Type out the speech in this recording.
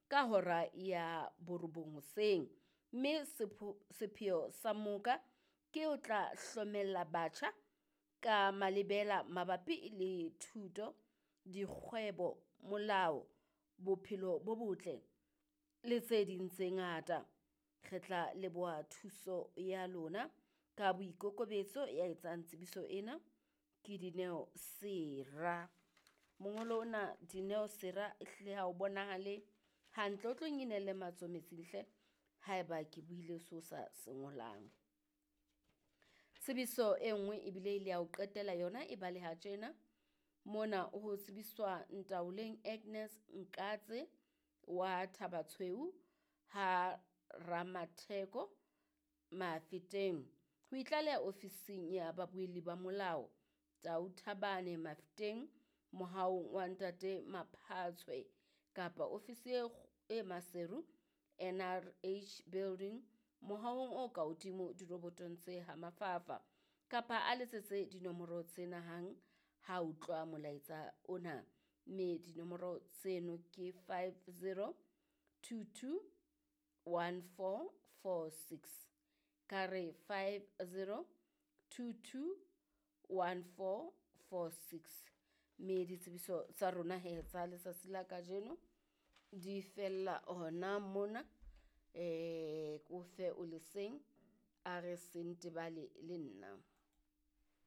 ka hora ya borobong hoseng. Mme sepheo sa moka ke ho tla hlomella batjha ka malebela mabapi le thuto, dikgwebo, molao, bophelo bo botle le tse ding tse ngata. Re tla leboha thuso ya lona ka boikokobetso. Ya etsang tsebiso ena ke Dineo Sera. Mongolo ona Dineo Sera ehlile ha o bonahale hantle, o tlo nginelle matsoho metsing hle haeba ke buile seo sa se ngolang. Tsebiso e nngwe ebile e le ya ho qetela yona e baleha tjena. Mona ho tsebiswa Ntaoleng Agnes Nkatse wa Thabatshweu ha Ramatheko Mafeteng ho itlaleha ofising ya babuelli ba molao Tau Thabane Mafeteng mohaong wa ntate Maphatshwe kapa ofisi e Maseru NRH Building mohaong o ka hodimo dirobotong tse ha Mafafa kapa a letsetse dinomoro tsena hang ha utlwa molaetsa ona, mme dinomoro tseno ke 50 22 1446. Ka re 50 22 1446. Mme ditsebiso tsa rona he tsa letsatsi la kajeno di fella hona mona. Ko fe o leseng a re se ntebale le nna.